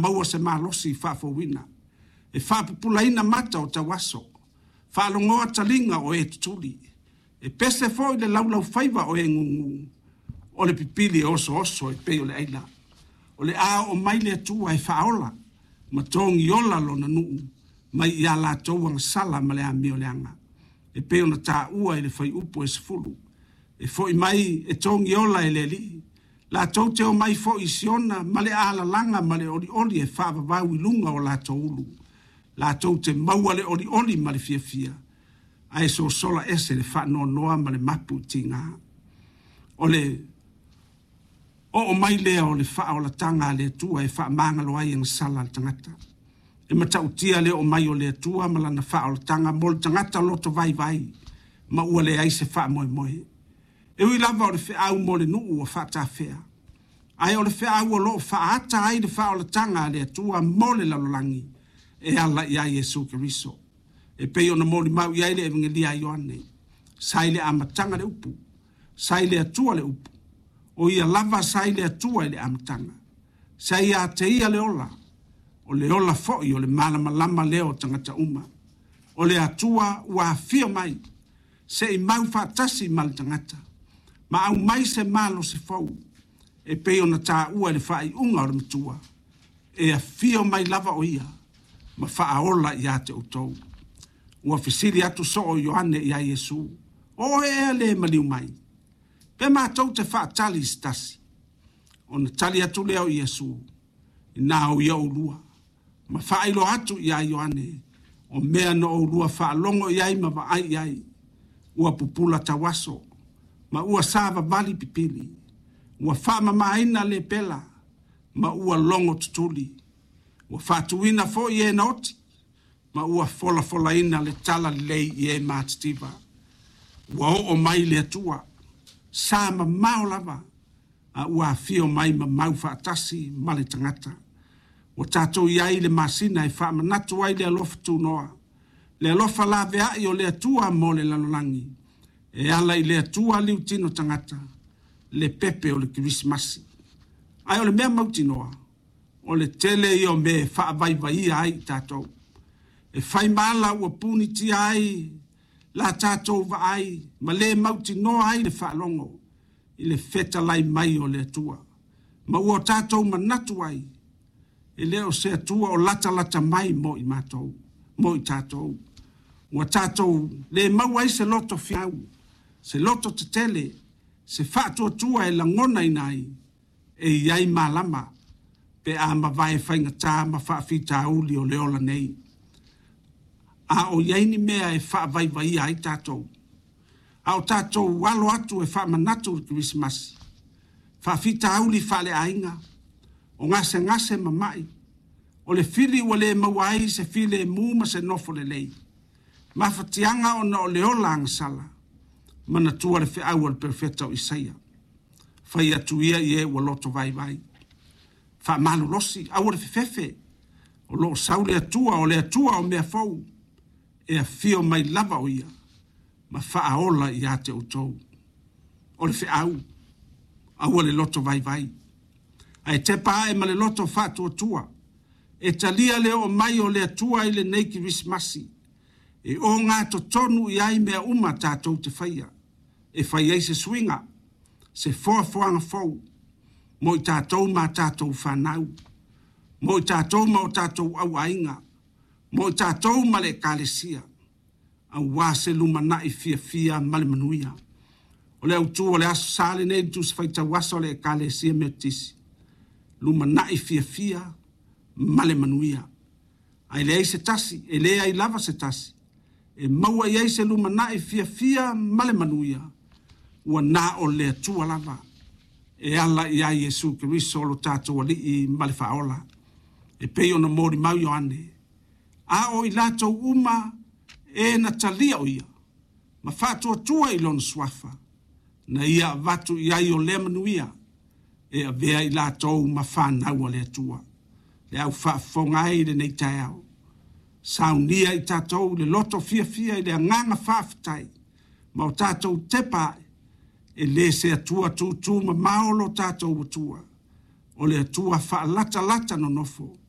maua se malosi faafouina e faapupulaina mata o tauaso, faalogoa taliga o e tutuli. E pese foi le laulaufaiva o e gugu, o le pipili e osooso e pei o le aila. O le a oo mai le Atua e faaola ma togiola Lona nuu mai ia latou agasala ma le amioleaga, e pei ona taua i le Fuaiupu 10. E foi mai e togiola e le Alii, latou te omai foi i Siona ma le alalaga ma le olioli e faavavau i luga o latou ulu. Latou te maua le olioli ma le fiafia, ae sosola ese le faanoanoa ma le mapu i tiga. O le oo mai lea o le faaolataga a le Atua e faamagalo ai agasala a le tagata. E matautia le oo mai o le Atua ma lana faaolataga mo le tagata loto vaivai ma ua leai se faamoemoe. E ui lava o le feau mo le nuu ua faatafea, ae o le feau o lo o faaata ai le faaolataga a le Atua mo le lalolagi e ala ia Iesu Keriso. E pei ona molimau i ai le Evegelia a Ioane, sa i le amataga le upu, sa i le Atua le upu, o ia lava sa i le Atua i le amataga. Sa ia te ia le ola, o le ola foi o le malamalama lea o tagata uma. O le Atua ua afio mai, se i mau faatasi ma le tagata, ma aumai se malosi fou, e pei ona taua i le faaiuga o le Matua, e afio mai lava o ia ma faaola ia te outou. Ua fesili atu soo o Ioane ia Iesu, o oe ea le maliu mai? Pe matou te faatali i se tasi? Ona tali atu lea o Iesu, ina o ia oulua, ma faailoa atu ia Ioane, o mea na oulua faalogo i ai ma vaai i ai, ua pupula tauaso, ma ua savavali pipili, ua faamamaina lepela, ma ua logo tutuli, ua faatuina foi e na oti, ma ua folafolaina le talalelei i e matitiva. Ua oo mai le Atua, sa mamao lava, a ua afio mai ma mau faatasi ma le tagata. Ua tatou i ai i le masina e faamanatu ai le alofa tunoa, le alofa laveai o le Atua mo le lalolagi, e ala i le Atua liutino tagata, le pepe o le Kerisimasi. Ae o le mea mautinoa, o le tele ia o mea e faavaivaia ai i tatou. E fai ma ala ua punitia ai la tatou vaai ma le mautinoa ai le faalogo i le fetalai mai o le Atua. Ma ua tatou manatu ai, e le o se Atua o latalata mai mo i matou, mo i tatou. Ua tatou le maua ai se loto fiau, se loto tetele, se faatuatua e lagonaina ai, e i ai malama pe a mavae faigata ma faafitauli o le ola nei. A o i ai ni mea e faavaivaia ai tatou, a o tatou alo atu e faamanatu le Kerisimasi, faafitauli faaleaiga, o gasegase ma mai, o le fili ua le maua ai se filemu ma se nofo lelei, mafatiaga ona o le ola agasala, manatua le feau a le Perofeta o Isaia, fai atu ia i e ua loto vaivai, faamalolosi, aua le fefefe, o lo o sau le Atua, o le Atua o mea fou, e afio mai lava o ia ma faaola ia te outou. O le feau, aua le loto vaivai, ae tepa ae ma le loto faatuatua, e talia le oo mai o le Atua i lenei Kerisimasi, e ogatotonu i ai mea uma tatou te faia, e fai ai se suiga, se foafoaga fou mo i tatou ma a tatou fanau, mo i tatou ma o tatou auaiga, mo i tatou ma le Ekalesia, aua se lumanai fiafia ma le manuia. O le autu o le Aso Sa lenei i le Tusi Faitau Aso a le Ekalesia Metotisi, lumanai fiafia ma le manuia. Ae leai se tasi, e leai lava se tasi, e maua i ai se lumanai fiafia ma le manuia, ua na o le Atua lava e ala ia Iesu Keriso lo tatou Alii ma le Faaola, e pei ona molimau Ioane, a o i latou uma e na talia o ia, ma faatuatua i lona suafa, na ia avatu i ai o lea manuia, e avea i latou ma fanau a le Atua. Le au faafofoga ai i lenei taeao, saunia i tatou le loto fiafia i le agaga faafetai, ma o tatou tepa ae, e le se Atua tutu mamao lo tatou Atua, o le Atua faalatalata nonofo.